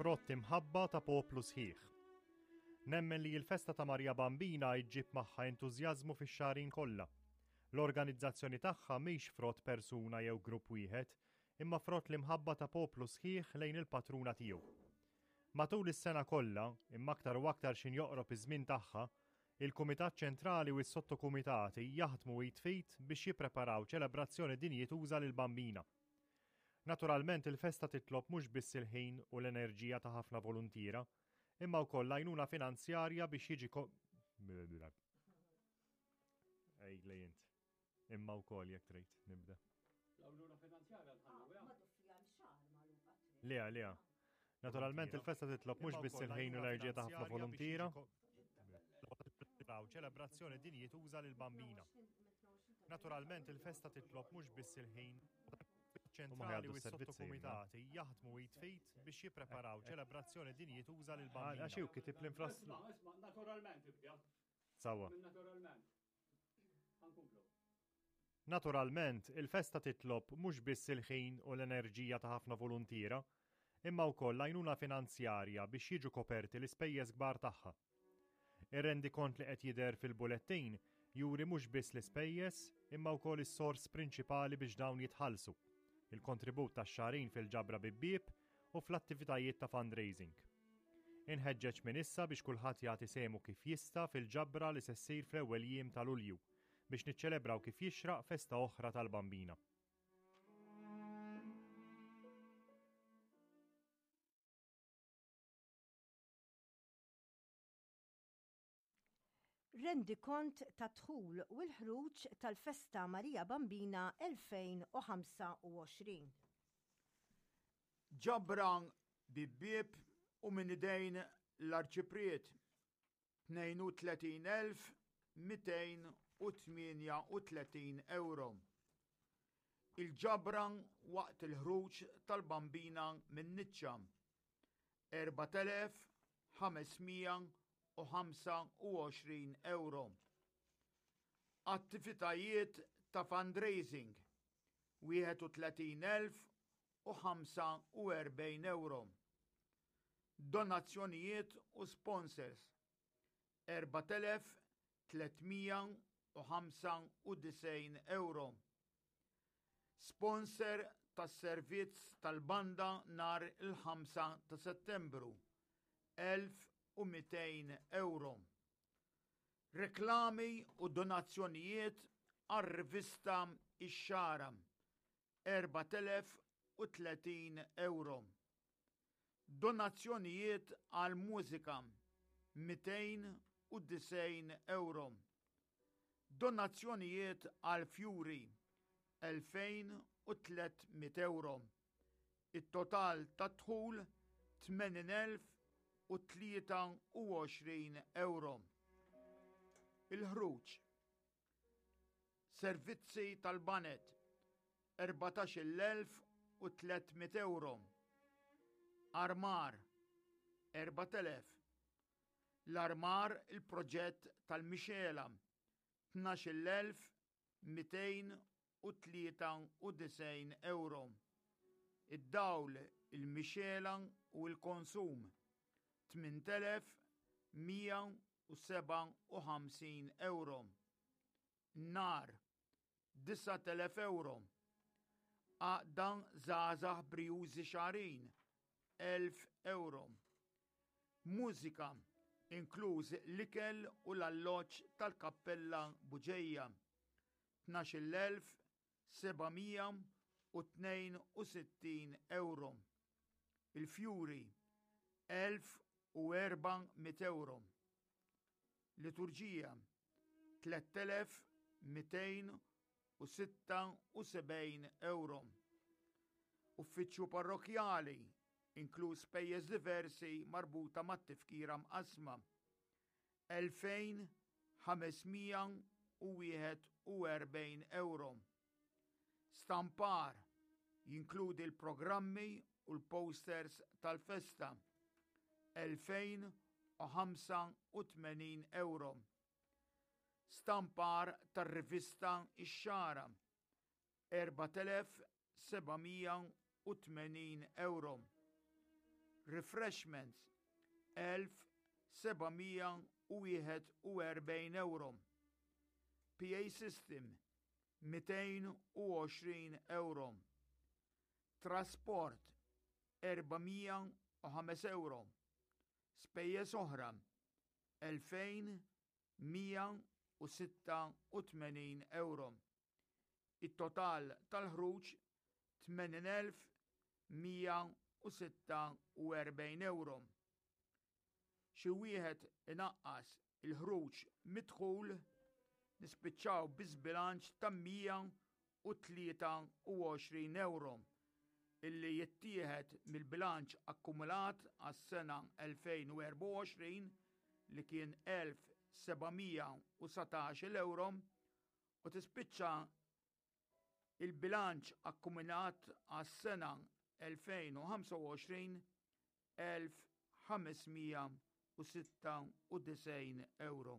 Frott imħabba ta' poplu sħiħ. Nemmen li l-festa ta' Marija Bambina ġġib magħha entużjażmu fix-xagħrin kollha. L-organizzazzjoni tagħha mhix frott persuna jew grupp wieħed, imma frott l-imħabba ta' poplu sħiħ lejn il-patruna tiegħu. Matul is-sena kollha, imma aktar u aktar x'in joqrob iż-żmien tagħha, il-Kumitat Ċentrali u s-sottokumitati jaħdmu id f'id biex jippreparaw ċelebrazzjoni dinjituża lill-Bambina. Naturalment il-festa titlob mhux biss il-ħin u l-enerġija ta' ħafna voluntiera, imma wkoll l-għajnuna finanzjarja biex jiġi Ej, lejint. Imma wkoll jekk trid nibda. L-għajnuna finanzjarja nħallu Lea, Lea. Naturalment il-festa titlob mhux biss il-ħin u l-enerġija ta' ħafna voluntiera. Ċelebrazzjoni dinjituża lill-Bambina. Naturalment il-festa titlob mhux biss il-ħin ċentrali u s-sottokumitati jaħdmu id fit biex jippreparaw ċelebrazzjoni dinjituża lil bambina. Għax hu kitib l-infrastruttura. Isma' naturalment ibda. Sawa. Naturalment. Ħankomplu. Naturalment, il-festa titlob mhux biss il-ħin u l-enerġija ta' ħafna voluntiera, imma wkoll l-għajnuna finanzjarja biex jiġu koperti l-ispejjeż kbar tagħha. Ir-rendikont li qed jidher fil-bulettin juri mhux biss l-ispejjeż imma wkoll is-sors prinċipali biex dawn jitħallsu, il-kontribut tax-xagħrin fil-ġabra bibbieb u fl-attivitajiet ta' fundraising. Inħeġġeġ minn issa biex kulħadd jagħti sehmu kif jista' fil-ġabra li se ssir fl-ewwel jiem ta' Lulju biex niċċelebraw kif jixraq festa oħra tal-Bambina. Rendikont tad-dħul u l-ħruġ tal-Festa Marija Bambina 2025. Ġabra bibbieb u minn idejn l-Arċipriet 32,238 ewro. Il-ġabra waqt il-ħruġ tal-Bambina min-niċċa 4,525 ewro. Attivitajiet ta' fundraising 31,045 ewro. Donazzjonijiet u sponsors 4,395 ewro. Sponsor tas-servizz tal-banda nhar il-5 ta' Settembru, 1,200 ewro. Reklami u donazzjonijiet għar-rivista Ix-Xagħra, 4,030 ewro. Donazzjonijiet għall-mużika, 290 ewro. Donazzjonijiet għall-fjuri, 2,300 ewro. It-total tad-dħul 80,023 ewro. Il-ħruġ. Servizzi tal-baned, 14,300 ewro. Armar, 4,000. L-armar il-proġett tal-mixela, 12,293 ewro. Id-dawl, il-mixela u l-konsum, 8,157 ewro. Nar, 9,000 ewro. Għaqda Żgħażagħ Brijużi Xagħrin, 1,000 ewro. Mużika, inkluż l-ikel u l-alloġġ tal-Kappella Buġeja, 12,762 ewro. Il-fjuri, 1,400 ewro. Liturġija, 3,276 ewro. Uffiċċju parrokkjali, inkluż spejjeż diversi marbuta mat-tifkira mqassma, 2,541 ewro. Stampar, jinkludi l-programmi u l-posters tal-festa, 2,085 ewro. Stampar tar-rivista Ix-Xagħra, 4,780 ewro. Refreshments 1741 euro. PA System 220 euro. Trasport 405 euro. Spejjeż oħra 2186 euro. It-total tal-ħruġ 80,146 euro. Xi wieħed inaqqas il-ħruġ mid-dħul nispiċċaw bi żbilanċ ta' 123 euro illi jittieħed mill-bilanċ akkumulat għas-sena 2024 li kien 1,719 euro u tispiċċa il-bilanċ akkumulat għas-sena 2025 1,596 euro.